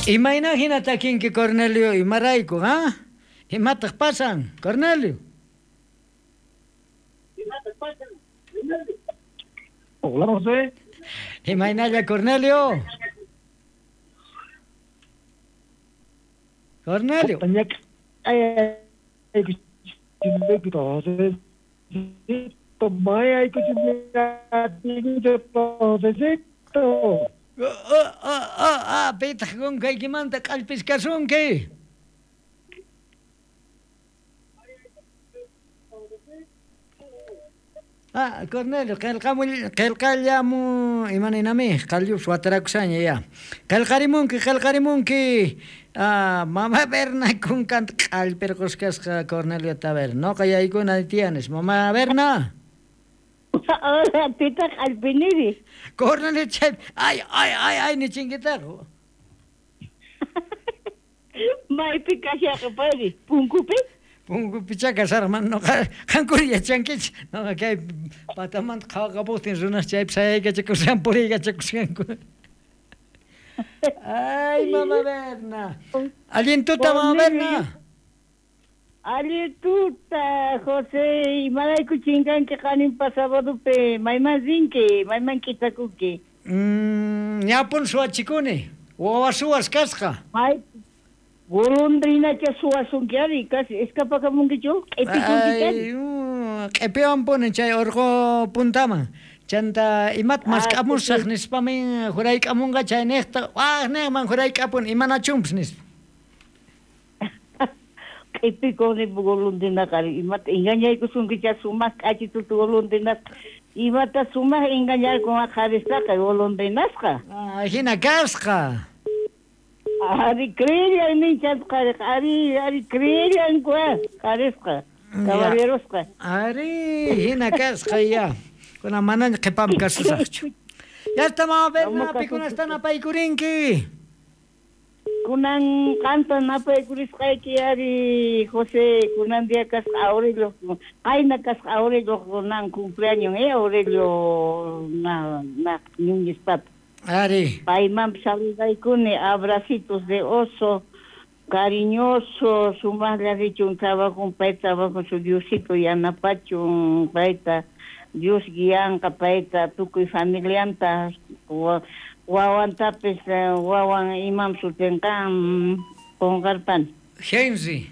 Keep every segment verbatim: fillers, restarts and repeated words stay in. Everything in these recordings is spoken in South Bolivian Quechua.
Imayna hina takinki Cornelio imarayku, ha? Imataq pasan, Cornelio? Hola, José. Imaynalla, Cornelio? Cornelio. Oh, oh, oh, ah, pitaq kunkaykimanta q'allpiskasunki. Ah, Cornelio, qillqamull qillqallamu imaninami qallus watarakushaña ya. Qillqarimunki, qillqarimunki. Ah, mama Berna kunkanta q'allpirqusqasqa Cornelio Taber. Noqa yaykuna tiyanis, mama Berna. Hola, pitaq q'allpiniri. Cornelio chay, ay, ay, ay, ay, nichinkitaq. Maypi kashaqa payri, punkupi? Punkupichá kasharman noqa qankuna yachankichik noqa kay patamanta qhawaqapuqtin runas chaypi sayaykachakushan puriykachakushanku. Ay, mama Berna. Allin tuta, mama Berna. Allin tuta, José. Imarayku chinkanki qaninpa sabadopi mayman rinki, mayman k'itakunki. Mm, ñapun suwachikuni. Wawa suwas kasqa. May golondrinacha suwasunki ari, casi escapakamunkichu, q'ipikunki Ay, q'ipiwanpuni chay urqu puntaman. Chanta imat mask'amusaq nispamin jurayk'amunqa chay niqta, waq niqman jurayk'apun imanachunpis nispa. Q'ipikuni golondrinaqa ari, imata engañaykusunkicha sumaq k'achituta golondrinasqa, imata sumaq engañarkun qharistaqa golondrinasqa. Ah, hina kasqa. Ari creellan ninchas qhariqa, ari ari creellanku qharisqa, caballerosqa. Ari hina kasqa ya. Kuna manaña qhipam kasusaqchu. Ya está mama Berna, pikunasta napaykurinki. Kunan qanta napaykurisqayki ari José, kunan día kasqa Aurelio, qayna kasqa Aurelio kunan cumpleaños, eh, Aurelio na na Núñez Papa. Ari. Payman saludaykuni, abracitos de oso, cariñoso, sumaqlla richun trabajo, pay trabajo su Diosito yanapachun, payta Dios guianqa payta tukuy familianta, wawantapis wawan imam sutinqa qunqarpani. Henry.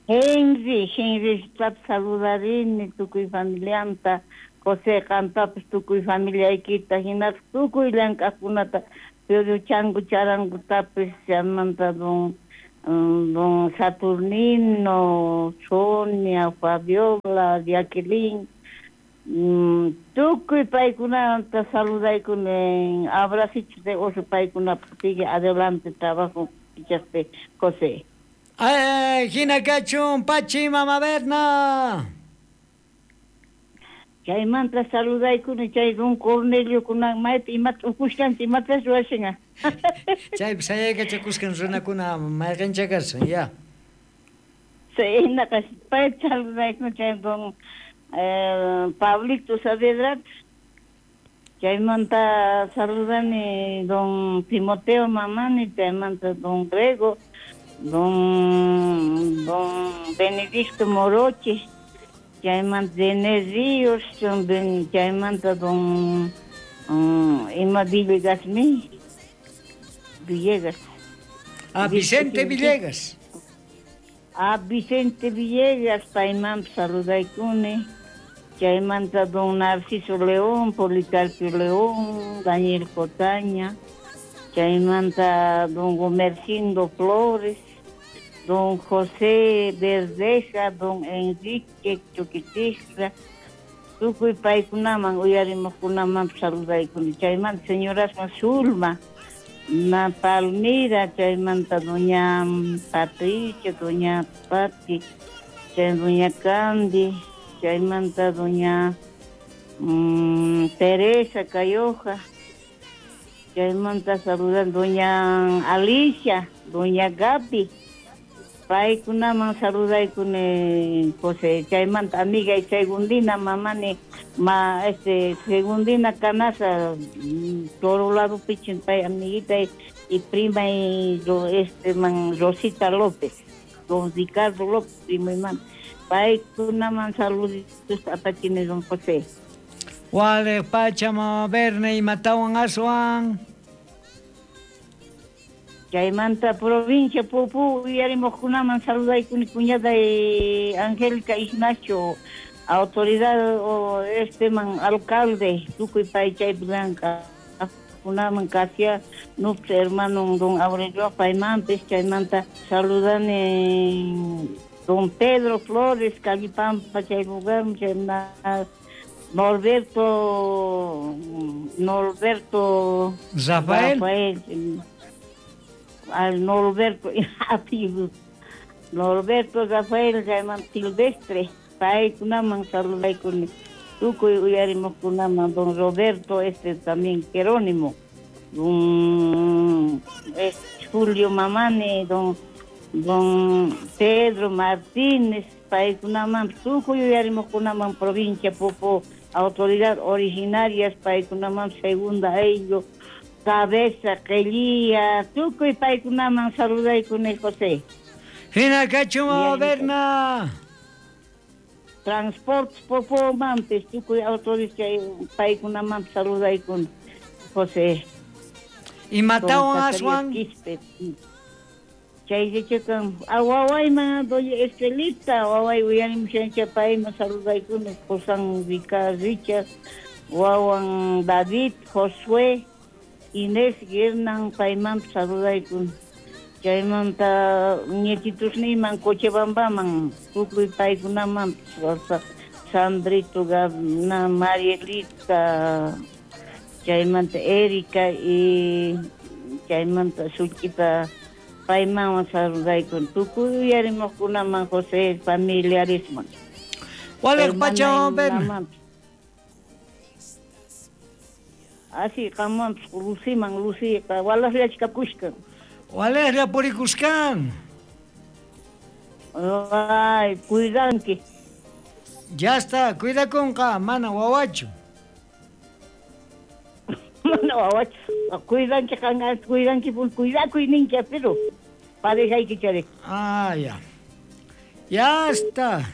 Henry, Henry saludarini tukuy familianta. José qantapis tukuy familiaykita hinaspa tukuy llank'aqkunata pero changu charangutapis chaymanta don don Saturnino, Sonia, Fabiola, Jacqueline, mm, tukuy paykunata saludaykuni, abracitos de oso paykunapaq sigue adelante trabajo pichaspe José. Ay, hina kachun pachi mama Berna. Chaymanta saludaykuni chay don Cornelio kunan maypi imata ukushanchik imatas ruwashan. Chaypi sayaykachakusqan runakuna mayqincha kashan ya. Chaynaqa payta saludaykuni chay don eh, Pablito Saavedra. Chaymanta saludani don Timoteo Mamani, chaymanta don Grego, don don Benedicto Moroche. Chaymanta René Ríos, chaymanta don um, Ima Villegas mi, Villegas. Ah, Vicente Villegas. Ah, Vicente Villegas, payman saludaykuni. Chaymanta don Narciso León, Policarpio León, Daniel Cotaña. Chaymanta don Gomercindo Flores, don José Verdeja, don Enrique Chuquitistra, tukuy paykunaman uyarimuqkunaman saludaykuni. Chaymanta señorasman Zulma, na Palmira, chaymanta doña Patricia, doña Pati, chay doña Candy, chaymanta doña mmm, Teresa Cayoja, chaymanta saludan doña Alicia, doña Gaby, Paykunaman saludaykuni José, chaymanta amiga y Segundina mamani ma este Segundina Canaza toro lado pichin pay amiguita y, y prima y este man Rosita López, don Ricardo López primo y man. Paykunaman saluditos apachini don José. Wale pacha mama Berna y matawan aswan. Chaymanta provincia Pupu uyarimuqkunaman saludaykuni cuñada y Angélica Ignacio, autoridad o este man alcalde tukuy pay chaypi blanca kunaman kasia nups hermano don Aurelio paymanpis chaymanta saludani don Pedro Flores Calipampa chay lugar chaymanta Norberto Norberto Rafael, Rafael al Norberto Norberto Rafael llaman Silvestre paykunaman saludaykuni tukuy uyarimuqkunaman don Roberto este también Jerónimo don este, Julio Mamani don don Pedro Martínez paykunaman tukuy uyarimuqkunaman provincia Popo autoridad originarias paykunaman segunda ello cabeza, quelía, tukuy paykunaman saludaykuni José. Hina kachu mama Berna. Transporte Popo mampis, tukuy autoridad paykunaman saludaykuni José. Y matawan aswan. Chay chikan awawayman doña Estelita, waway uyarimushancha payman saludaykuni Josan Richard, wawan David, Josué, Inés Guernan payman saludaykun chaymanta ñetitusniyman Cochabambaman tukuy paykunaman Sandrito Gabna Marielita chaymanta Erika y chaymanta Suchita payman saludaykun tukuy uyarimuqkunaman José familiaresman. Waleq pacha Berna. Así, qamwanpis Luciman, Luciqa, walajllachkapushkan. Walajlla purikuskan. Ay, cuidanki. Ya está, cuidakunqa, mana wawachu. Mana wawachu. Cuidanki, qanqa, cuidanki, cuidakuy ninki, pero parejayki charik. Ah, ya. Ya está.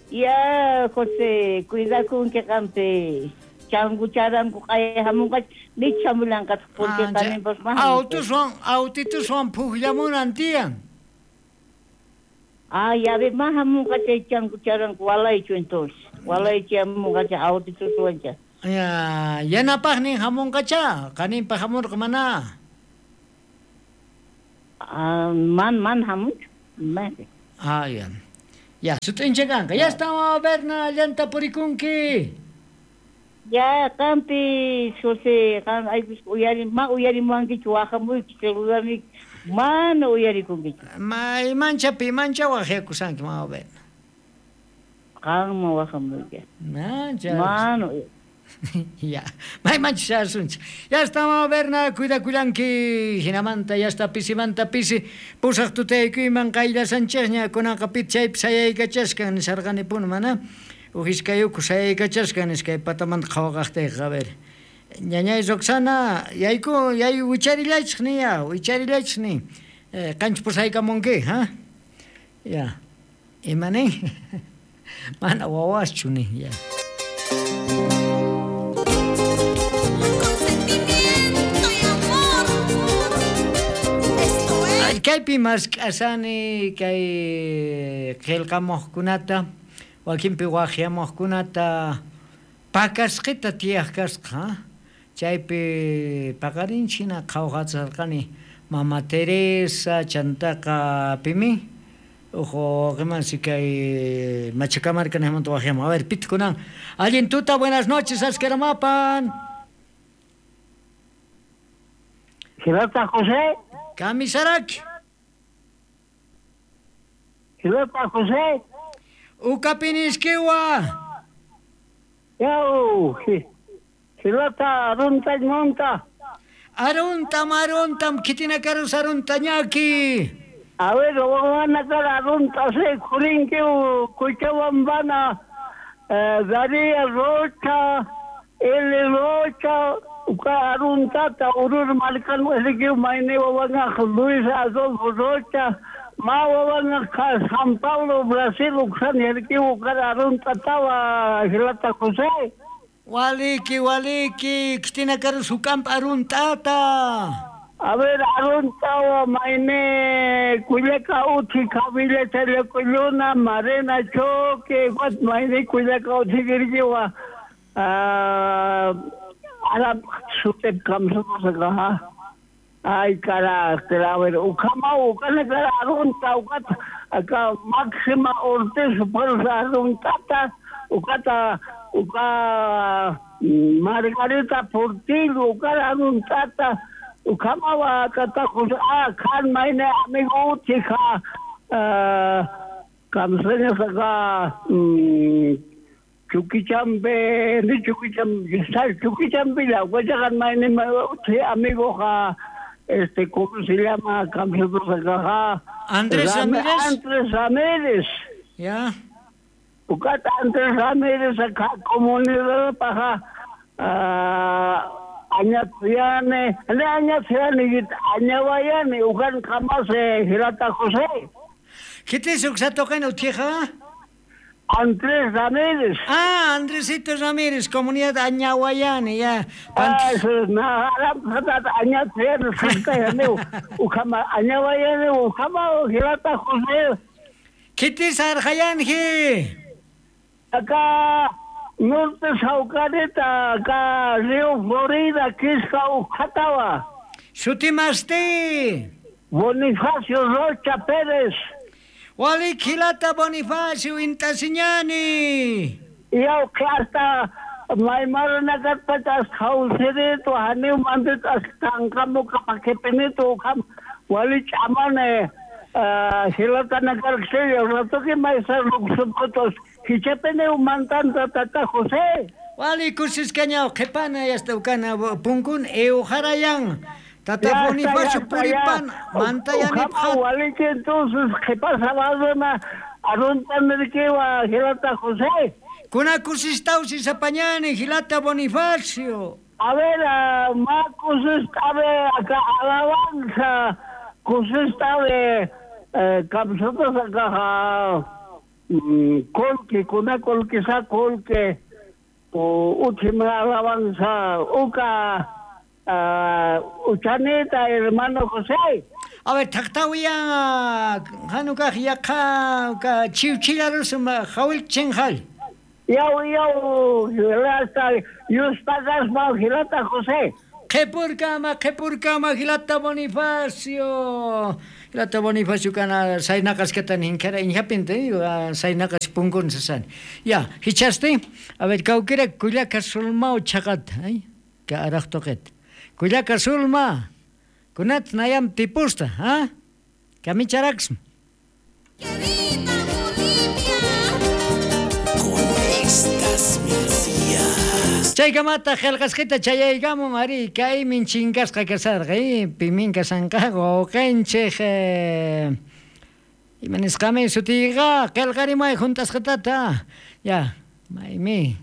Ya, José, cuidakunki qampi. Changu charangu qaya hamunqa nichamulanqa porque qaninpas más. Autuswan, autituswan pukllamunan tiyan. Ah, ya ve más hamunqa chay changu charangu walaychu entonces. Walaychu hamunqa chay autituswan cha. Ya, yanapaqnin hamunqacha, qaninpa hamurqa mana. Ah, man man hamunchu. Man. Ah, ya. Ya, sut'incha kanqa. Ya está, Berna, llanta purikunki. Ya, qampi, José, qam aypis uyari, ma uyarimuwankichu waqamuyki celularniyki, mana uyarikunkichu. Ma imancha pimancha waqyakusanki, mama Berna. Qamman waqamuyki. Mancha. Mana. Ya, maymancha shasunchik. Ya está, mama Berna, cuidakullanki, hinamanta, ya está, pisimanta pisi, pusaq tutaykuyman qayllasanchikña, kunanqa pit chaypi sayaykachaskan nisarqanipuni mana. Ujiskayuku sayaykachaskan iskay patamanta qhawaqaqtayqa, a ver. Ñañay Roxana, yayku, yay wicharillaychik ni ya, wicharillaychik ni. Eh, qanchis pusaykamunki, ha? Ya. Ima nin? Mana wawaschu ni, ya. Kaypi mask'asani kay qillqamuqkunata wakinpi waqyamuqkunata pakasqita tiyaq kasqa, chaypi paqarinchina qhawqacharqani Mama Teresa chantaqa pimi ujo qimansi kay Machacamarca nijmanta waqyamuq. A ver, pitkunan allin tuta, buenas noches, askeramapan. Hilata José. Kamisaraki. Hilata José. Ukapinisquiwa. Yau, Hilata runtay monta. Aruntam, aruntam, kitinakarus aruntañaki. A ver, wawanakar arunta se kurinki Cochabambana, eh, Daría Rocha, L. Rocha, uka aruntata urur markan eriki maine wawanga Luis Adolfo Rocha, ma wawanga San Paulo, Brasil, uksan eriki ukar aruntatawa Hilata José. Waliki, waliki, kitinakarus ukamp aruntata. A ver, aruntawa maine Culiaca uchi kabila chalecoyuna, Marena Choque, what maine Culiaca uchi girgiwa, ah, Arab sutep kamsa Ay, carácter, a ver, ukama ukana cara arunta ukata acá Máxima Ortiz por aruntata ukata uka Margarita Portillo ukara aruntata ukama kata ah kan maine amigo chica kamsene saka Chuquichambe ni Chuquichambe Chuquichambe la huachacan maine amigo ja este cómo se llama kamsene Andrés Ramírez. Andrés Ramírez. Ya. Ukata Andrés Ramírez acá comunidad paja Añatiane, le Añatiane, Añaguayane, ukan kamase Hilata José. ¿Qué te hizo que utija? Andrés Ramírez. Ah, Andresito Ramírez, comunidad Añaguayane, ya. Ah, eso es, na, Añatiane, ukama, Añaguayane, ukama, Hilata José. ¿Qué te hizo Arjayanji? Acá. Norte Saucareta, acá Río Florida, Quisca, Ujatawa. Sutimasti. Bonifacio Rocha Pérez. Wali Hilata Bonifacio Intasiñani. Yau hasta Maimaranagatpatas Jausirito, Haniu Manditas Tancamu Capaquepenito, Wali Chamane, Hilata Nagarxillo, Ratoki Maisa Luxupotos. Hichepene umantanta tata José. Wali kusiscañao qhepana yasta ukana punkun euharayan. Tata Bonifacio puripan mantayani phat. Wali que entonces qhepasa badona arunta merkewa Hilata José. Kuna kusistausi sapañani Hilata Bonifacio. A ver, uh, ma kusistabe acá alabanza kusistabe eh, kamsotas acá kolke kuna kolke sa kolke o última alabanza uka uchanita hermano José. A ver, taqtawia hanuka yaqa ka chiwchilarus jawil chenjal. Yaw yaw hilata yuspagasma Hilata José. Qhepurkama qhepurkama Hilata Bonifacio. Hilata Bonifacio kana saynaqasqata ninkara inhapinte saynaqas punkun sasani. Ya, hichaste. A ver, kawkira Culiaca sulmao chaqata, ay, ka araqtoqet. Culiaca sulma. Kunat nayam tipusta, ha? Kamicharaxm. Con estas melodías. Chaykamata qillqasqita chayaykamun ari kaymin chinkasqa kasarqa eh pimin kasanqa wawqinchik eh, imanisqami sutiyqa qillqarimay juntasqatata ya maymi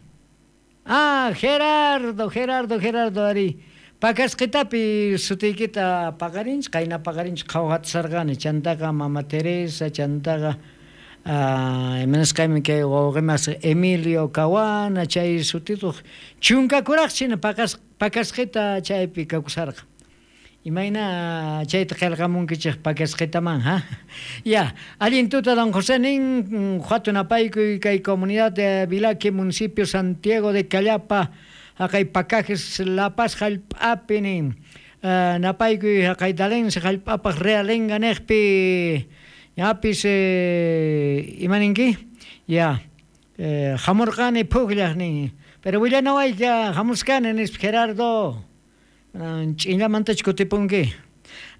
ah Gerardo Gerardo Gerardo ari pakasqitapi sutiykita paqarinchik qayna paqarinchik qhawqatasarqani chantaqa Mama Teresa chantaqa Ah, imanasqaymi kay wawqimas Emilio Cawana chay sutituq chunkakuraq china pakas pakasqita chaypi kakusarqa imayna chayta qillqamunkichik pakasqitaman ha ya allin tuta don José nin huatunapaykuy kay comunidad de Vilaque municipio Santiago de Callapa haqay pacajes La Paz hallp'api nin uh, napaykuy haqay Dalense hallp'apaq Realenga niqpi yapis eh, imaninki ya eh, hamurqani pukllaq nin pero willanawayka hamuskani nispa Gerardo ch'inllamantach kutipunki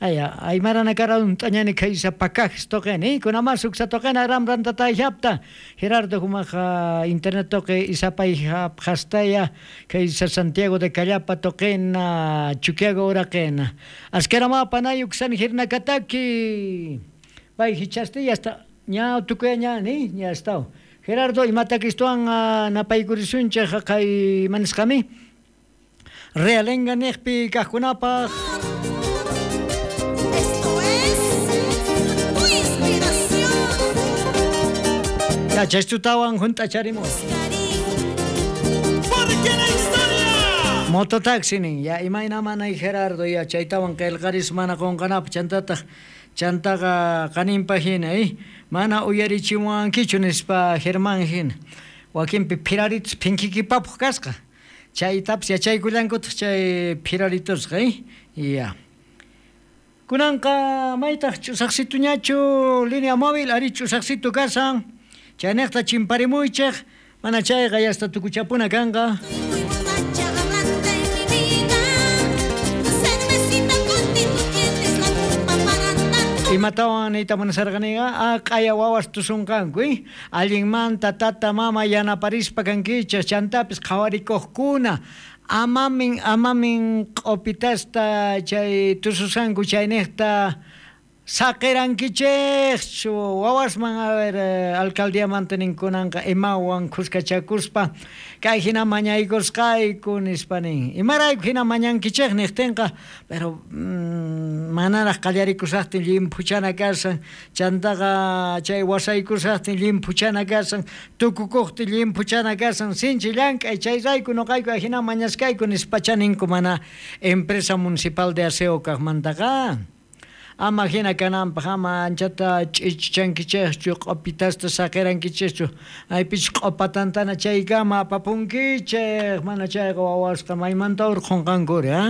Aya, aymarana karadun t'añani kaysa pakaj toqeni, kunama suksa toqena ramrantatayhapta. Gerardo humaja internet toque isapay hastaya kaysa Santiago de Callapa toqena Chuquiago uraqena. Askerama panayuk san hirnakataki. Bay hichaste ya está. Ña tukuya ña ni ña estao. Gerardo imatakistuan napaykurisunchej kay manisqami. Realenga nejpi kajkunapaj. Esto es tu inspiración. Ya chaystutawan junt'acharimos. Porque la historia. Mototaxi nin, ya imayna manay Gerardo ya chaytawan qillqaris mana qunqanapaq chantataq chantaqa qaninpaq hina eh mana uyarichimuwankichu nispa Germán hina wakinpi phiraritus phinkikipapaq kasqa chaytapas yachaykullankutaq chay phiraritusqa eh ya kunanqa maytaq ch'usaqsituñachu línea móvil ari ch'usaqsitu kasan chaynejta chimparimuychej mana chayqa yasta tukuchapuna kanqa. Muy borracha hablando de mi vida. Cervecita contigo tienes la culpa para tanto. Imatawan niyta munasarqaniqa ah q'aya wawas tusunqanku eh allinmanta tata mama yanaparispa kankichej chantapis qhawarikuqkuna amamin amamin q'upitasta chay tususqanku chaynejta saqirankichejchu wawasman a ver alcaldiamanta ninkunanqa imawan khuskachakuspa kay hina mañaykusqayku nispa nin imarayku hina mañankichej niqtinqa pero mm, manaraq qallarikusaqtin llimphuchana kasan chantaqa chay wasaykusaqtin llimphuchana kasan tukukuqtin llimphuchana kasan sinchi llank'ay chayrayku nuqayku hina mañaskayku nispacha ninku mana empresa municipal de aseo kaqmantaqa. Ama hina kananpaq ama anchata ch'ichichankichejchu q'upitasta saqirankichejchu aypich q'upatantana chaykama apapunkichej mana chayqa wawasqa maymanta urqhunqankuri ah.